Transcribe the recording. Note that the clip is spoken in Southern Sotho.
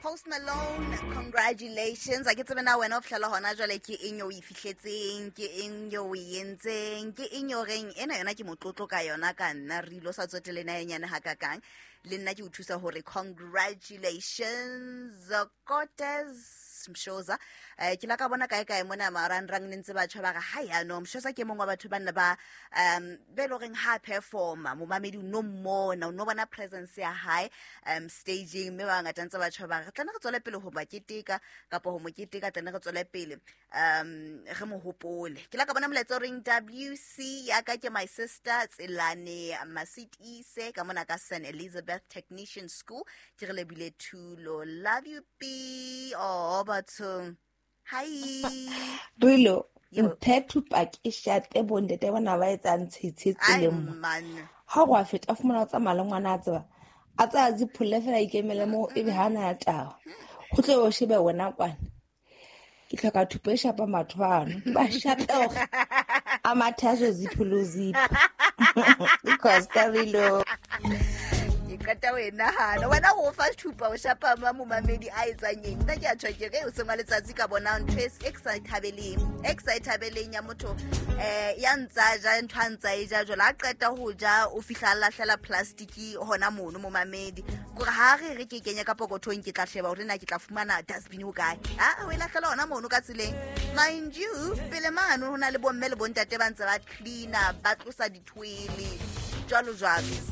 Post Malone, congratulations. A ke tsebe na wena o fitlhela hona jwale ke eng eo o e fihletseng, ke eng eo o e entseng, ke eng eo reng ena yona ke motlotlo ka yona ka nna re ilo sa tsotele na e nyane hakakang. Le nna ke o thusa hore congratulations Cortez Mshoza. Ke la ka bona kae kae mona marangrang ne ntse batjha ba re ha ya no Mshoza ke mongwe wa batho ba nna ba be e le horeng ha performa momamedi o no mmona o no bona presence ya hae staging mme ba bangata ntse batjha ba re tlane re tswele pele ho ba keteka kapa ho mo keteka tlane re tswele pele re mo hopole. Ke la ka bona molaetsa o reng WC ya ka ke my sister Tselane Masitise ka mona ka St Elizabeth Technician School. Ke re lebile Thulo, love you B. Oh bathong, hi. Rilo, mphe thupa ke shate bontate bona ba etsang tshetshe tseleng mo. Ha go a feta a fumana o tsamaya le ngwana a tseba a tsaya zipholle fela a ikemele mo ebe ha na taba. Go tle o shebe wena kwana. Ke tlhoka thupa e shapa batho bano. Ba shape hore a mathe a so zipho zipho. Because Rilo. Ke qeta ho e nahana wena o fa thupa o shapa ma momamedi a etsang eng. Nna ke a tjho ke re o seng wa letsatsi ka bona ntho e ke sa e thabeleng, e ke sa e thabeleng ya motho ya ntsa ja ntho a ntsa e ja jwale a qeta ho ja o fihla a lahlela plastic hona mono momamedi kore ha re re ke kenye ka pokothong ke tla sheba hore na ke tla fumana dustbin ho kae. A o e lahlela hona mono ka tseleng. Mind you, pele mano ho na le bomme le bontate ba ntse ba cleaner ba tlosa dithoele jwalo jwalo.